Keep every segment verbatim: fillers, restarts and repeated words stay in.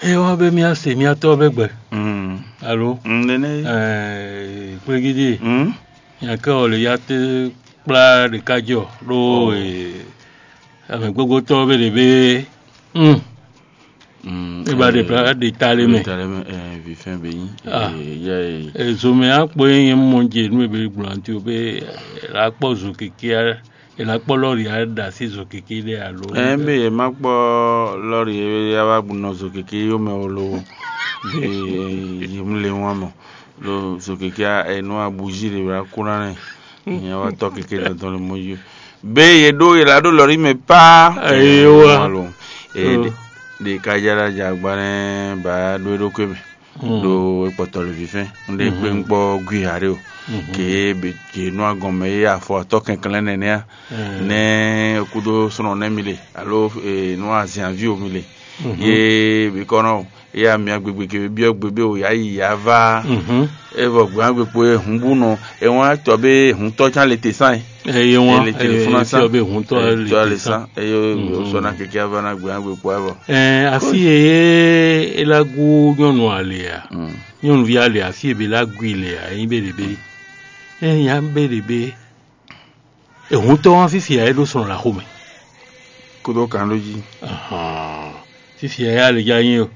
É wá bɛ mía se mía tɔ́ bɛ gbɛ. Mm. Alo? Mm, nene. Ɛɛ, kplégídí. Mm. Nya kɛ ɔ le ya te kplá ɖeka jɔ ɖó Oh. Ee, ame gbogbo tɔ́ bɛ ɖe bɛ. Mm. Mm, E ba ɖe eh, bla ɖe ta le mɛ. Ɖe ta le mɛ, eh, vifɛn be nyi. Ah. Eh, ya, eh. E zomɛ akpɔ ye nyɛ mɔ je nu ebe gblɔ anti o be la kpɔ zo keke a, la kpɔ lɔri a da si zo keke ɖe alo. Eh, be ye ma kpɔ lɔri ye ya va bu nɔ zo keke yo mɛ o lo. Be ye mu le wan mɔ. Lo zo keke a, eh, no abuji le bla kuna ne. Nya wa tɔ keke dɔdɔ le mɔ yo. Be ye ɖo ye la ɖo lɔri mɛ pa. Ayiwa. Alo. Eh, Mm. de, de ka jala jagba ne ba ɖo ɖo kwe mɛ. Mm. Ɖo ekpɔtɔ le vifɛn. Nde Mhm. kpe ŋkpɔ gui haɖe o. Mhm. Ke be ke nɔ agɔn mɛ ye afɔ atɔ kɛnklɛn nɛnɛ a. Mm. Ne kudo sɔnɔ ne mi le alo eh, nɔ azianvi o mi le. Mhm. Ye be kɔnɔ o. Ye amia gbegbe ke be biɔ gbe be o ya yi ya va. Mhm. Evɔ gbe agbe kpo ye hun bu nɔ. E wan tɔ be hun tɔ can le te san. Eye wan Ele telefɔni eye san. Tiɔ be hun tɔ Ele le tɔ te le san. San. Eye Mhm. o sɔ na keke ava na gbe agbe kpo avɔ. Ɛɛ asi ye elagu nyɔnu alea. Mm. Nyɔnuvi alea asi ebe lagu ilea eyin be ɖebe. Eyin ya be ɖebe. Ehuntɔ wan fifia e ɖo sɔn la xomɛ. Kudo kan ɖo jí. Ahan. Fifia ya le ya nyi o.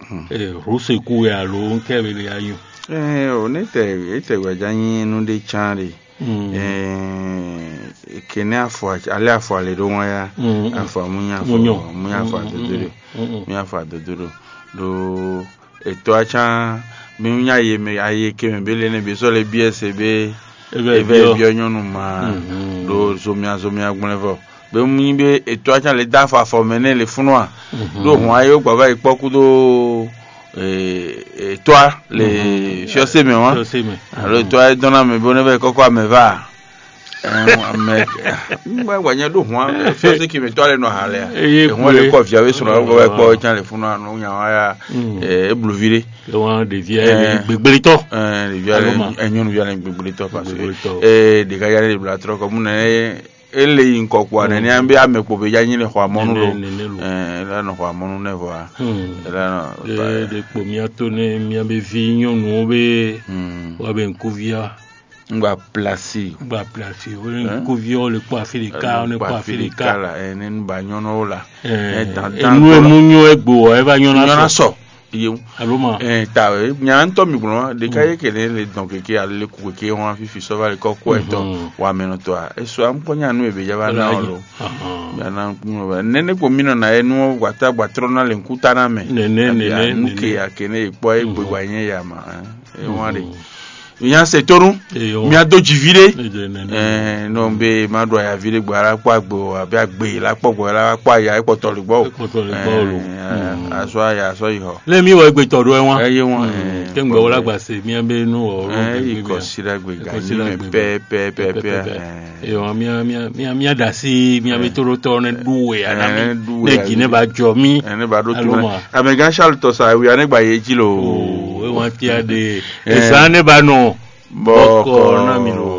Hmm. Eh, Ruseku ya lo nkɛ be le ya nyi o. Eh, o ne tɛ e tɛ gbaja nyi nu de can de. Hmm. Eh, kene afɔ ale afɔ ale ɖo ŋɔ ya. Hmm, hmm. Afɔ munya afɔ Munyɔ. Munya afɔ Hmm, hmm, adodo hmm, de. Hmm, hmm. Munya afɔ adodo do. Do etɔ acan mi nya ye me aye ke me be le ne be sɔ le bi ese be Ebe eve biɔ. Biɔ nyɔnu ma Mhm. Do zomia zomia gblɛ vɔ be mu nyi be etɔ acan le da afɔ afɔ mɛ ne le funu a Mhm. Do hɔn aye gbava yi kpɔ kudo etɔ le Mhm. Fiɔse mɛ wa Fiɔse mɛ. Alo etɔ aye dɔn na mɛ be ne vɛ kɔkɔ amɛ va. Ɛɛ, ame ŋgbɛ gba nyɛ ɖo hɔn fɛsɛ kí mi tɔ ale nɔ ha lɛ Eye ehun ale kpe. Kɔ via be sɔrɔ kɔ wɛ kpɔ can le funu anu nya wa ya Mm. Ee ebluvi de Ke wan ɖevi Ɛɛ. Gbegblẽtɔ. Ɛɛ ɖevi ale Alo ma. Enyɔnuvi ale gbegblẽtɔ parce que Gbegblẽtɔ. Ee ɖeka ya le bla trɔ kɔ mu nɛ ele yi nkɔ kpɔ nɛ ni an be ame kpo be ya nyi le xɔ amɔnu Nene, lo nene lo. Ɛɛ ele nɔ xɔ amɔnu nɛ vɔ Hmm. Ele nɔ Ɖe ɖe kpo mía to ne mía be vi nyɔnuwo be Hmm. Wa be ŋkuvia. Ngba plasi. Gba plasi o ne Hein? Kuviɔ le kpɔ afi ɖeka o ne kpɔ afi ɖeka. La ene nu ba nyɔnɔ o la. Ɛ Ɛ dan dan enu emu nyɔ egbo ɔ eva nyɔna Nyɔna sɔ. Sɔ. Yewu. Alo ma. Ɛ ta ɛ nya ŋutɔ mi gblɔ ɖeka ye kele le dɔn keke ale ku keke wɔn fifi sɔva le kɔ kɔ etɔ Mhm. Wa mɛ nɔ tɔ a eso am kɔ nya nu ebe java na Wala o yi. Lo. Ahɔn. Ya na kun ba nene ko mi nɔ na ye nu wa ta gba trɔ na le nkuta na mɛ. Nene Abi nene anu ke nene. Ya kene ye kpɔ ye gbe Mhm. Wa nye ya ma. Ɛ wan de. Mhm. Nya se tonu Eyo. Mia do dzi vi ɖe Edo nene. Ɛɛ nɔ be ma ɖo ayavi ɖe gbɔ ala kpɔ agbe o abe agbe la kpɔ gbɔ la kpɔ aya ekpɔtɔ le gbɔ o Ekpɔtɔ le gbɔ o lo. Ɛɛ, Mm. Asɔ aya asɔ yi xɔ. Le mi wɔ egbe tɔ ɖo ɛ wan Eye wan Mm. Kengbe wɔ la gba se mia be nu wɔ ɛ yi kɔ si ɖe agbe ga Kɔ si yi ɖe mɛ agbe pɛ pɛ pɛ pɛ Pɛpɛpɛ. Ɛɛ. Eyo mia mia mia mia da si mia be to ɖo tɔ ne ɖu we ana Ɛɛ, mi ɖu we ne dzi ne ana ba jɔ mi ɛ ne ba ɖo Alo tun ma. Amɛgã Charles tɔ sa ewia ne gba ye dzi lo. O e wan tia de Ɛɛ. Esa ne ba nɔ Bɔkɔ na mi lo.